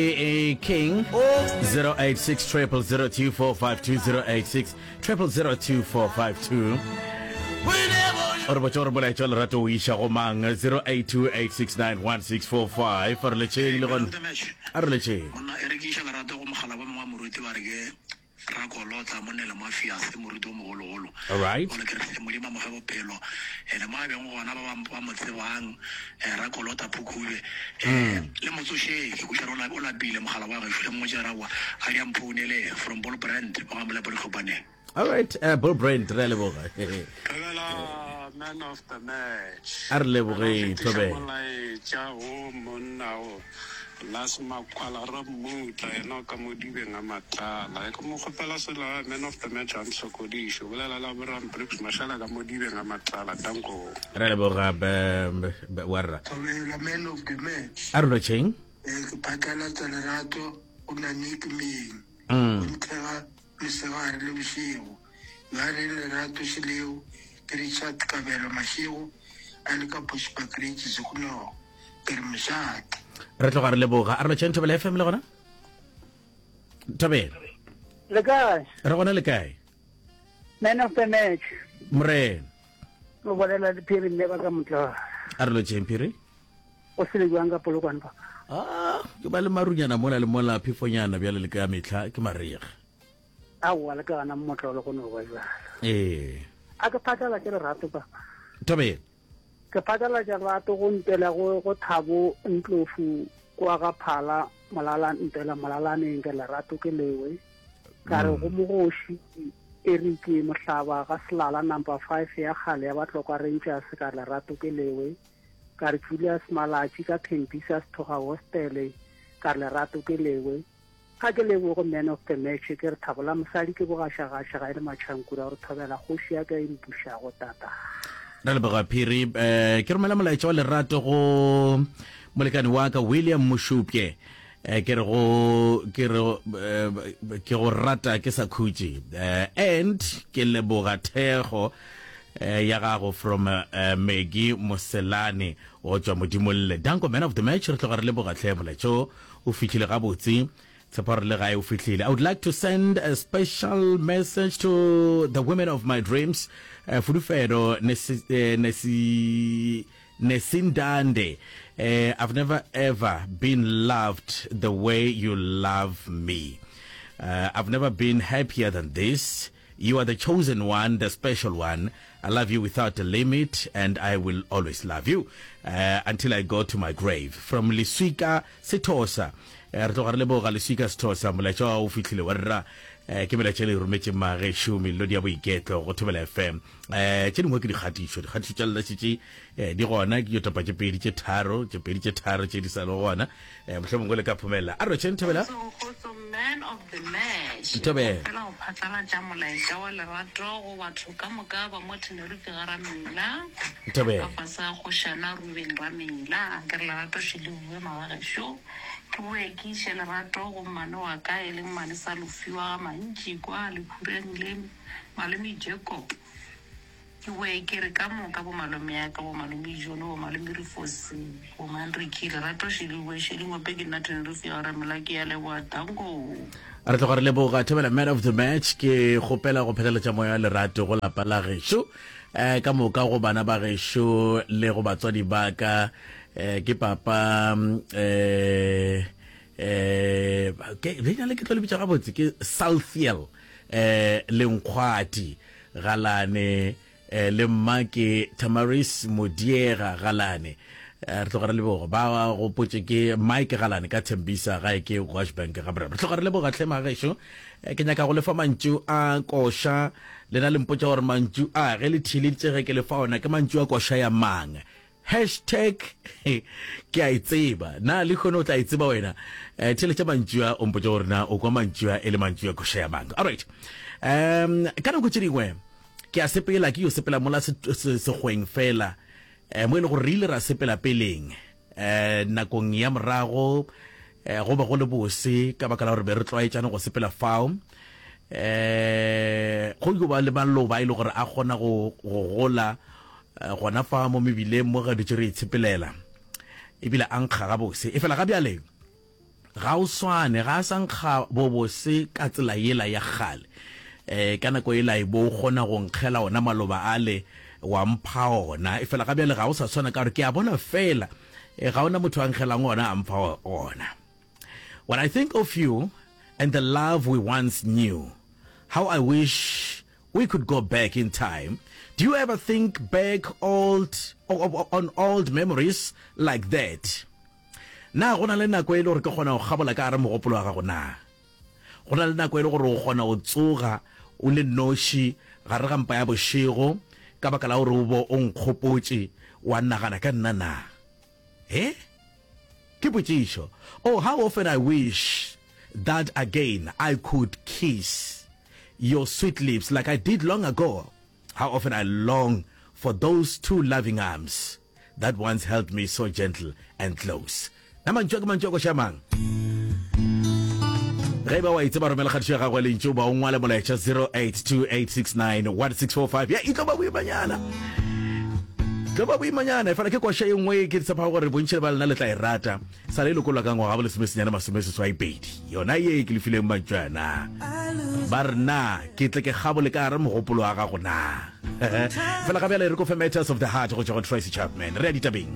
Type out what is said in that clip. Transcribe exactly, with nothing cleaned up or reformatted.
A King zero eight six triple zero two four five two zero eight six triple zero two four five two. O re botša gore molaetša wa lerato o iša go mang zero eight two eight six nine one six four five. A re letšeng le gona. A re letšeng. Monna e re ke iša lerato go mogala ba mongwe wa moruti ba re ke Rakolotla monna le Mafiase moruti o mogologolo. All right. Gore ke re hle Modimo a mo fe bophelo. Ene mo a beng gona ba ba ba mo tsebang eh, Rakolota Phukube eh, le motsošeng ke kweša re o la- o lapile mogala wa gešo le mmotše ra wa a di a mphounele from Bull Brand mo ga Molepo Ditlhophaneng. All right, uh, Bull Brand re a leboga. Thobela man of the match. A re leboge, Re fetiša Thobela. molaetša wo monna wo Las Makwala Rammutla yena o ka mo dibeng a Matlala. E ke mo kgopela selo a man of the match a ntshokodiše. O bolela le Abraham Briggs Mashala ka mo dibeng a Matlala. Danko. Re a leboga be- be- warra. Thobela man of the match. A re lotšheng. Eh, ke phatlalatsa lerato go Nanik Meng. Go nthega mesegare le bošego. Yo a reng lerato šeleo ke Richard Kabelo Mašego a le ka Bushbuckridge Sekunogo. Ke re mošate. Re tloga re leboga. A re lotšheng Thobela F M le gona? Thobela. Le kae? Re gona le kae? Man of the match. Morena. O bolela le Phiri mme ba ka motla. A re lotšheng Phiri. O sele jwang ka Polokwane papa? Ah, ke ba le marunyana mola le mola phefonyana bjale le ka mehla ke marega. Aowa le ka gana mmotlolo go no ba jwalo. Ee. A ke phatlalatše lerato papa. Thobela. Ke phatlalatša lerato go ntela go, go Thabo Ntlofu kwa ga Phala Molala ntela Molalaneng ke lerato ke lewe. Ka re go mogoši Eric Mohlaba ga Selala number five ya kgale ya Batlokwa Rangers ka lerato ke lewe. Ka re Julius Malatši ka Thembisa Sethoga Hostel ka lerato ke lewe. Ga ke leboge man of the match ke re thabo la mosadi ke bogašagaša ga e le matšhankura gore thobela kgoši ya ka e mpušago tata. Re leboga Phiri. Eh, ke romela molaetša wa lerato go molekane wa ka William Mošupje. Eh, ke re go, ke re, eh, ke go rata ke sa khutše. Eh, and ke leboga thekgo, eh, ya gago from, eh, Maggie Moselane go tšwa Modimolle. Danko man of the match, re tloga re leboga hle molaetša o, o fihlile gabotse. Tshepo gore le gae o fihlile. I would like to send a special message to the women of my dreams. Uh, Fulufedo Nesi, eh, Nesi, Nesindande. Uh, I've never ever been loved the way you love me. Uh, I've never been happier than this. You are the chosen one, the special one. I love you without a limit, and I will always love you, uh, until I go to my grave. From Leswika Sethosa. Eh, re tloga re leboga Leswika Sethosa, molaetša wa o fihlile wa rra. Eh, ke melaetša le rometše magešo melodi ya boiketlo go Thobela F M. Eh, tše dingwe ke dikgatišo, dikgatišo tša lena šetše, eh, di gona, ke yo topa tše pedi tše tharo, tše pedi tše tharo tše di sa le gona. Eh, mohlomongwe le ka phomella. A re tšheng Thobela. Kgotso, man of the match. Thobela. Kgopela go phatlalatša molaetša wa lerato go batho ka moka ba mo Tenerife ga Ramela. Thobela. Ka fase ga kgošana Ruben Ramela. Ke re lerato še le bue magagešo. Ke boe ke iše lerato go mmane wa ka e leng mmane sa Lofiwa ga Mantši kwa Lekhureng le malome Jacob. Ke boe ke re ka moka bo malome ya ka, bo malome John, bo malome Rifosi, bo Manriki, lerato še le bue še le ngope ke nna Tenerife ya Ramela, ke ya leboha danko. Re tloga re leboga Thobela man of the match. Ke kgopela go phethalatša moya wa lerato go lapa la gešo, eh, ka moka go bana ba gešo le go batswadi ba ka. Eh, ke papa, eh, eh, ke, leina le ke tlo le bitša gabotse, ke Salthiel, eh, Lenkgwati Galane, eh, le mma ke Tamaris Modiega Galane. Eh, re tloga re leboga. Ba gopotše ke Mike Galane ka Thembisa gae ke Washbank ga Boraro. Re tloga re leboga hle magešo. Eh, ke nyaka go lefa mantšu a koša. Lena le mpotša gore mantšu a ge le theeleditše ge ke le fa ona ke mantšu a koša ya mang. Hashtag ke a e tseba. Na le kgone o tla e tseba wena? Eh, theeletša mantšu a, o mpotše gore na o kwa mantšu a e le mantšu a koša ya mang. All right. Um, ka nako tše dingwe ke a sepela, ke yo sepela mola se-, se-, sekgweng fela. Eh, mo e le gore re ile ra sepela peleng. Eh, nakong ya morago, eh, go be go le bose ka baka la gore be re tlwaetšane go sepela fao. Eh, go yo ba le maloba e le gore a kgona go, go gola, eh, gona fa mo mebileng mo ga dutše re itshepelela. Ebile a nkga gabose. E fela ga bjale, Ga o swane, ga a sa nkga bobose ka tsela yela ya kgale. Um ka nako yela e bo o kgona go nkgela ona maloba ale wa mpha ona, efela ga bjale ga o sa swana ka gore ke a bona fela eh, ga ona motho a nkgelang ona a mpha ona. When I think of you and the love we once knew, how I wish we could go back in time. Do you ever think back old on old memories like that? Na go na le nako e le gore ke kgona go kgabola ka gare mogopolo wa gago na? Go na le nako e le gore o kgona go tsoga o le noši gare ga mpa ya bošego ka baka la gore o bo o nkgopotše wa nagana ka nna na? He? Ke potšišo. Oh, how often I wish that again I could kiss your sweet lips like I did long ago. How often I long for those two loving arms that once held me so gentle and close. Na mantšu a ke mantšu a koša mang? Ge e ba wa itseba romela kgatišo ya gago ya lentšu ba o ngwale molaetša zero eight two eight six nine one six four five. Ya e tlo ba boimanyana, tlo ba boimanyana efela ke koša ye nngwe ke tshepago gore bontši ba lena le tla e rata. Sa le lokollwa ka ngwaga bo lesomesenyane masomeseswai pedi. Yona ye ke le fileng mantšu a na ba re na ke tle ke kgabole ka gare mogopolo wa gago na. Fela ga bjale re ko fe Matters of the Heart go tšwa go Tracy Chapman. Re ya ditabeng.